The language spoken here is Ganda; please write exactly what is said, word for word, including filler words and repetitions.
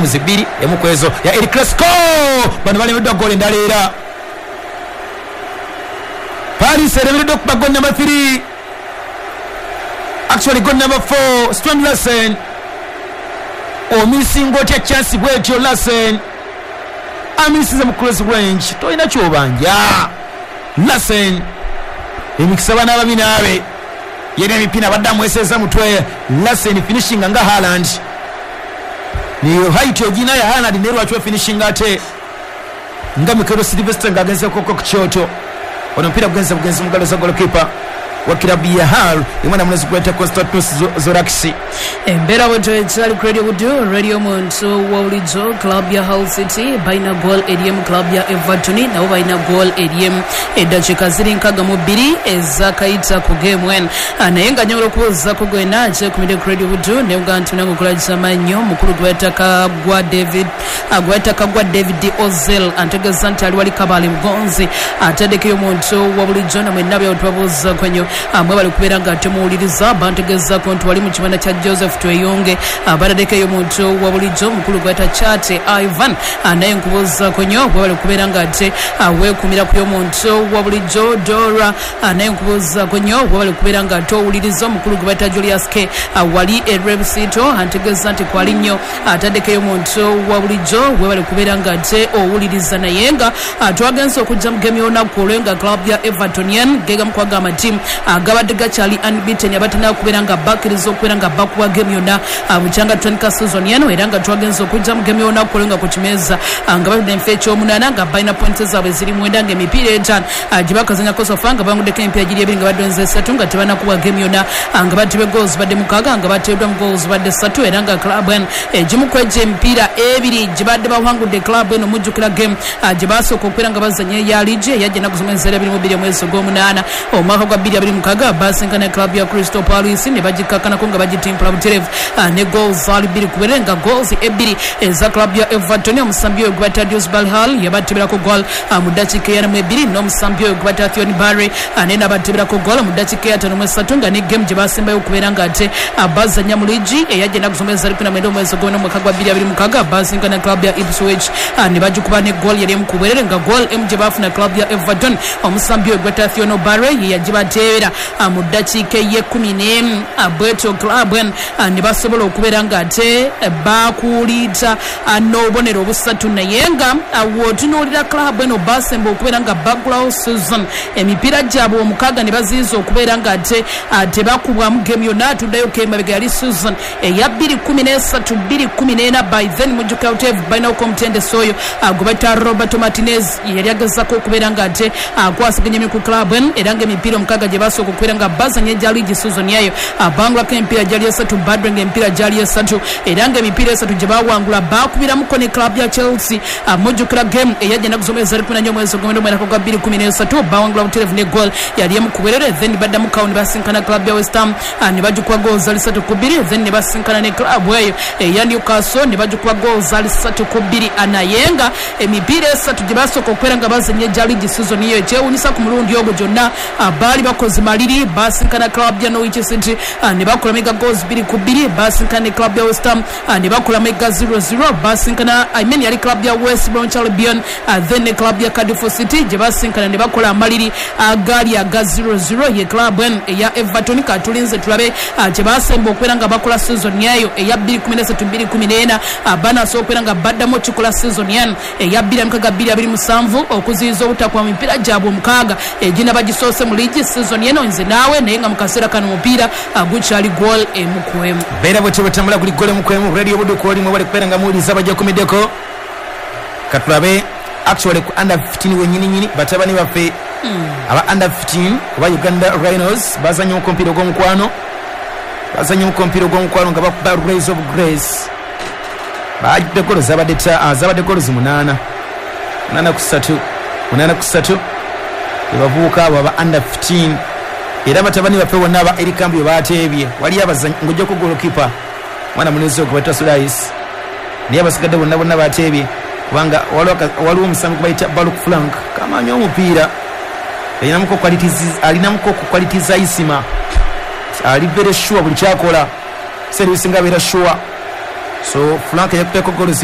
Games bbiri, emu ku ezo ya El Clasico. Bano balemeddwa goal endala, era Paris eremereddwa okuba goal number three, actually goal number four. Strand Larsen, omisinga otya chance bwetyo? Larsen amisize mu close range, tolina kyobanja. Larsen, emikisa bana babi naabe yena emipiira abadde amweseza mutwe. Larsen finishinga nga Haaland, niyo height ogina ya Haaland, naye lwaki ofinishinga ate nga Mikel Sylvester ng'agenzeko ku kyoto? Ono omupiira gugenze bugenzi mugalo za goalkeeper wa kilabu ya Hull, omwana mulenzi gweta Konstantinos Zorakis. Embeera bwetyo ekyali ku Radio Buddu, radio muntu wa bulijjo. Club ya Hull City balina goal eriemu, club ya Everton nabo balina goal eriemu. Eddakiika ziri nkaga mu bbiri ezakayita ku game eno. Ah, naye nga nyobola okubuuzaako gwena kyekumidde ku Radio Buddu nebuga nti nange okola kisamannyo mukulu gweta Kagwa David, ah, gweta Kagwa David Ozel antegeeza nti ali wali Kabale Bugonzi, ataddekeyo omuntu wa bulijjo. Namwenna byawo tubabuuzaako nnyo, amwe bali kubeera nga temuwuliriza. Bantegeezaako nti wali mu kibanda kya Joseph Tweyonge, bataddekeyo omuntu wa bulijjo mukulu gweta Chate Ivan, naye nkubuuzaako nnyo bwe bali kubeera nga ate weekumira ku y'omuntu wa bulijjo Dora, naye nkubuuzaako nnyo bwe bali kubeera nga ate owuliriza. Omukulu gwe bayita Julius K wali e Rebsito antegeeza nti kwali nnyo, ataddekeyo omuntu wa bulijjo bwe bali kubeera nga ate owuliriza. Naye nga twagenze okujja mu game y'olunaku olwo nga club ya Everton yen gegamu kwaga amatiimu agabadde gakyali unbeaten, abatana kubeera nga bakkiriza okubeera nga bakuba game yonna bukyanga tutandika season eno. Era nga twagenze okujja mu game y'olunaku olwo nga ku kimeeza nga batudde enfo ekyomunaana, nga balina points zaabwe ziri mwenda, nga emipiira etaano gye bakazanyako so far nga banguddeko emipiira giri ebiri, nga badonze esatu, nga tebanakuba game yonna, nga batibwe goals badde mukaaga, nga bateereddwa mu goals badde ssatu. Era nga club eno egimu ku egyo emipiira ebiri gye badde bawangudde, club eno mujjukira game gye basooka okubeera nga bazanya eya liigi eyajja ennaku z'omwezi era abiri mu bbiri omwezi ogw'omunaana omwaka gwa bbiri abiri mukaaga, basinkana club ya Crystal Palace ne bagikakkanako nga bagitimpula butereevu ne goals zaali bbiri kubere, nga goals ebbiri eza club ya Everton, omusambi oyo gwe bayita Dewsbury Hall yabateberako goal mu ddakiika eyana mu ebiri, n'omusambi oyo gwe bayita Theon Barry naye n'abateberako goal mu ddakiika eyataano mu esatu, nga ne game gye basembayo okubeera nga ate bazanya mu liigi eyajja ennaku z'omwezi ali kumi na mwenda omwezi ogw'omwenda omwaka gwa bbiri abiri mukaaga, basinkana club ya Ipswich ne bagikuba ne goal yali emu ku bwerere, nga goal emu gye baafuna club ya Everton, omusambi oyo gwe bayita Theon Barry ye yagibateebera mu ddakiika ey'ekkumi n'emu. Bwetyo club eno ne basobola okubeera nga ate bakuliita n'obubonero obusatu. Naye nga w'otunuulira club eno, basemba okubeera nga baggulawo season emipiira gyabwe omukaaga ne baziyiza okubeera nga ate tebakubwamu game yonna. Atuddayo kemabega yali season eya bbiri kumi n'esatu bbiri kumi n'ena. By then mujjukira buteevu balinako omutendesi oyo gwe bayita Roberto Martinez, yali agezaako okubeera nga ate akwasaganya emiku club eno. Era nga emipiira omukaaga gye basooka okubeera nga bazanya egya liigi season yayo, bangulako emipiira gyali esatu, badre nga emipiira gyali esatu, era nga emipiira esatu gye bawangula bakubiramuko ne club ya Chelsea. Mujjukira game eyajja ennaku z'omwezi ali kumi na nnya omwezi ogw'omwenda omwaka gwa bbiri kumi n'esatu, bawangula butereevu ne goal yali emu ku bwerere. Then baddamu kawo ne basinkana club ya West Ham ne bagikuba goal zali ssatu ku bbiri. Then ne basinkana ne club eyo eya Newcastle ne bagikuba goal zali ssatu ku bbiri. Naye nga emipiira esatu gye basooka okubeera nga bazanya egya liigi season eyo, ekyewuunyisa ku mulundi ogwo gyonna baali bakoze maliri. Basinkana club ya Norwich City ne bakola mega goals bbiri ku bbiri, basinkana ne club ya West Ham ne bakola mega zero zero, basinkana, I mean, yali club ya West Bromwich Albion, then ne club ya Cardiff City gye basinkana ne bakola amaliri agaali aga zero zero. Ye club eno eya Everton, katulinze tulabe kye basemba okubeera nga bakola season yayo eya bbiri kumi n'esatu bbiri kumi n'ena. Banasobola okubeera nga baddamu okikola season yano eya bbiri mukaaga bbiri abiri musanvu, okuziyiza obutakwa mipiira gyabwe omukaaga egina bagisoose mu liigi season yeno? Nze naawe, naye nga mu kaseera kano omupiira gukyali goal emu ku emu. Beera bwetyo bwetambula kuli goal emu ku emu. Radio Buddu kwolimu bali kubeera nga muwuliriza abajakumiddeko. Katulabe actually ku under fifteen wenyini nyini, batabani baffe aba under fifteen oba Uganda Rhinos bazanye omupiira ogw'omukwano, bazanye omupiira ogw'omukwano nga bakuba Rays of Grace. Bajjudde golo zabadde zabadde golo munaana, munaana ku ssatu, munaana ku ssatu. Ebavubuka abo aba under fifteen, era batabani baffe bonna aba erikambi bwe bateebye waliyo abazanyi ng'ojjako golokipa mwana munezi ogwo bayita Sulais, naye abasigadde bonna bonna bateebye, kubanga waliwo omusambi gwe bayita Baluk Frank kamanyi omupiira, alinamuko ku quality za Isima, ali very sure buli kyakola, seera ebisinga abeera sure. So Frank yakuteko golozi.